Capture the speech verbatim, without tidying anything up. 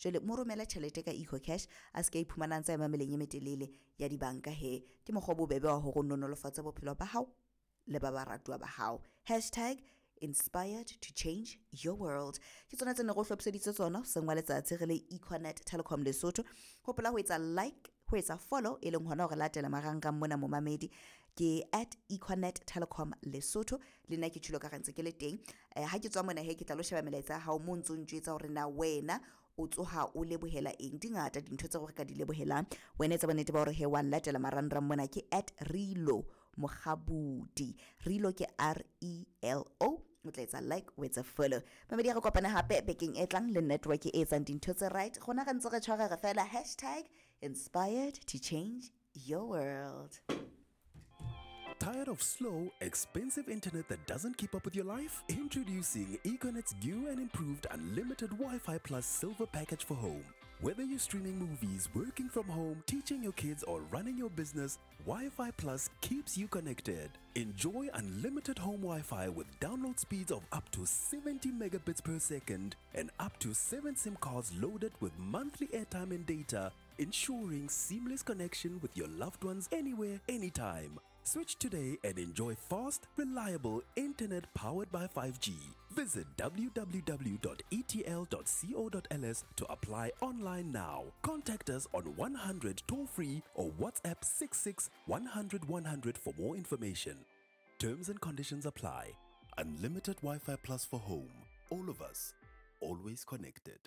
Jwale mo romele tjhelete ka EcoCash, a se ka iphumana ntse a ema meleng e metelele ya dibanka he. Ke mokgwa o bobebe wa hore o nolofatse bophelo ba hao le ba baratuwa ba hao. Hashtag inspired to change your world. Ke tsona tse ne re o hlophiseditse tsona hoseng wa letsatsi re le Econet Telecom Lesotho. Hopola ho etsa like, ho etsa follow, e leng hona hore latela marangrang mona momamedi, ke at Econet Telecom Lesotho. Le nna ke tjhulo ka rantse ke le teng. Eh, ha ke tswa mona he ke tla lo sheba melaetsa ya hao mo ntso ntjwetsa hore na wena o tsoha o lebohela eng. Di ngata dintho tseo re ka di lebohelang. Wena etsa bonnete ba hore he wa latela marangrang mona, ke at Relo Mokgabudi. Relo ke R E L O. O tla etsa like, o etsa follow. Mamedi, re kopane hape bekeng e tlang le network e etsang dintho tse right. Rona re ntse re tshwara re fela. Hashtag inspired to change your world. Tired of slow, expensive internet that doesn't keep up with your life? Introducing Econet's new and improved unlimited Wi-Fi Plus Silver Package for home. Whether you're streaming movies, working from home, teaching your kids, or running your business, Wi-Fi Plus keeps you connected. Enjoy unlimited home Wi-Fi with download speeds of up to seventy megabits per second and up to seven SIM cards loaded with monthly airtime and data, ensuring seamless connection with your loved ones anywhere, anytime. Switch today and enjoy fast, reliable internet powered by five G. Visit w w w dot e t l dot co dot l s to apply online now. Contact us on one hundred toll free or WhatsApp six six one hundred one hundred for more information. Terms and conditions apply. Unlimited Wi-Fi Plus for home. All of us, always connected.